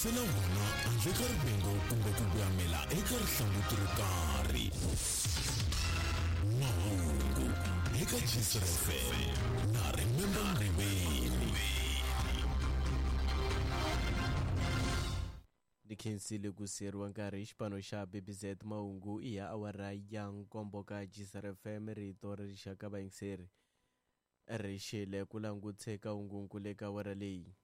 Tiyisela wona handle ka rivengo kumbe ku voyamela eka rihlanguti ro karhi. Mahungu eka Gcina FM na Remember Ngobeni. Ni khensile ku siyeriwa nkarhi hi xipano xa BBZ. Mahungu i ya awara ya nkombo ka Gcina FM, rito ra rixaka. Vayingiseri ri xile ku langutse ka hungunkulu eka awara leyi.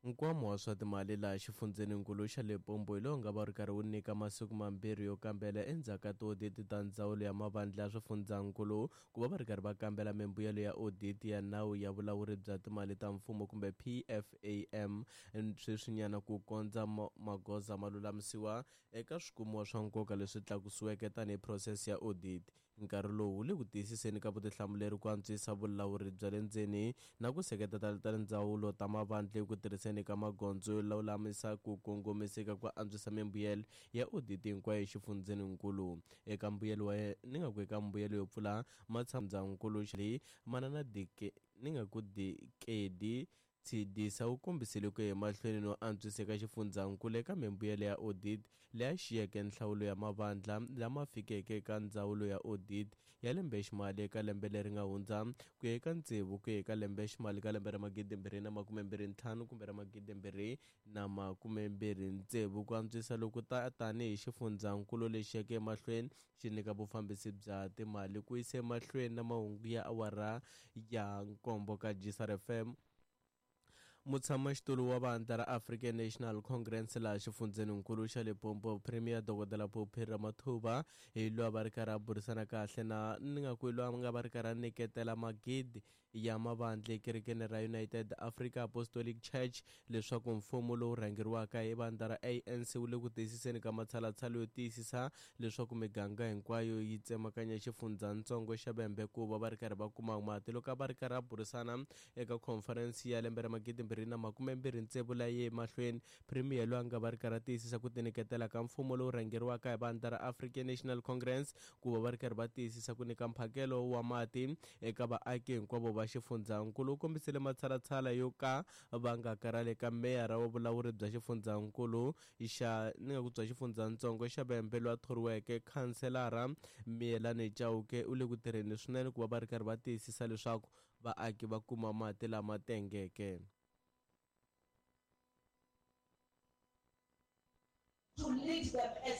Nkwama wa swa timali laha xifundzheninkulu xa Limpopo hi lowu nga va ri karhi wu nyika masiku mambirhi yo kambela endzhaku ka tioditi ta ndzawulo ya mavandla ya swifundzhankulu ku va va ri karhi va kambela mimbuyelo ya oditi ya nawu ya vulawuri bya timali ta mfumo kumbe PFAM sweswinyana, ku kondza magoza ma lulamisiwa eka swikumiwa swa nkoka leswi tlakusiweke tanihi phurosese ya audit. Nkarhi lowu wu le ku tiyisiseni ka vutihlamuleri ku antswisa vulawuri bya le ndzeni na ku seketela tindzawulo ta mavandla eku tirhiseni ka magondzo yo lulamisa ku kongomiseka ku antswisa mimbuyelo ya audit hinkwayo exifundzheninkulu. Eka mbuyelo wa ni nga ku eka mbuyelo yo pfula matshamundzankulu leyi manana dike ni nga ku Dikedi Tshidisa u kombisile ku ya emahlweni no antswisa eka xifundzhankulu eka mimbuyelo ya audit leyi xiyeke nhlawulo ya mavandla lama fikeke eka ndzawulo ya audit ya lembeximali eka lembe leri nga hundza ku ya eka tsevu ku ya eka lembeximali ka lembe ra 2025 kumbe ra 2026. Ku antswisa loku ta tanihi xifundzhankulu lexi yeke emahlweni xi nyika vufambisi bya timali. Ku yisa emahlweni na mahungu ya awara ya nkombo ka Gcina FM, mutshamaxitulu wa vandla ra African National Congress laha xifundzheninkulu xa Limpopo, Premier Dokodela Phophi Ramathuba, hi loyi va ri karhi a burisana kahle na ni nga ku hi loyi a nga va ri karhi a nyiketela magidi ya mavandla ekerekeni ra United Africa Apostolic Church leswaku mfumo lowu rhangeriwaka hi vandla ra ANC wu le ku tiyisiseni ka matshalatshala yo tiyisisa leswaku miganga hinkwayo yi tsemakanya xifundzhantsongo xa Vhembe ku va va ri karhi va kuma mati. Loko a va ri karhi a burisana eka conference ya lembe ra 2026 leyi ye emahlweni, Premier loyi a nga va ri karhi a tiyisisa ku tinyiketela ka mfumo lowu rhangeriwaka hi vandla ra African National Congress ku va va ri karhi va tiyisisa ku nyika mphakelo wa mati eka vaaki hinkwavo va xifundzhankulu, u kombisile matshalatshala yo ka va nga karhali eka meyara wa vulawuri bya xifundzhankulu xa ni nga ku bya xifundzhantsongo xa Vhembe loyi a thoriweke khanselara Miyelani Chauke u le ku tirheni swinene ku va va ri karhi va tiyisisa leswaku vaaki va kuma mati lama tengeke. To lead them as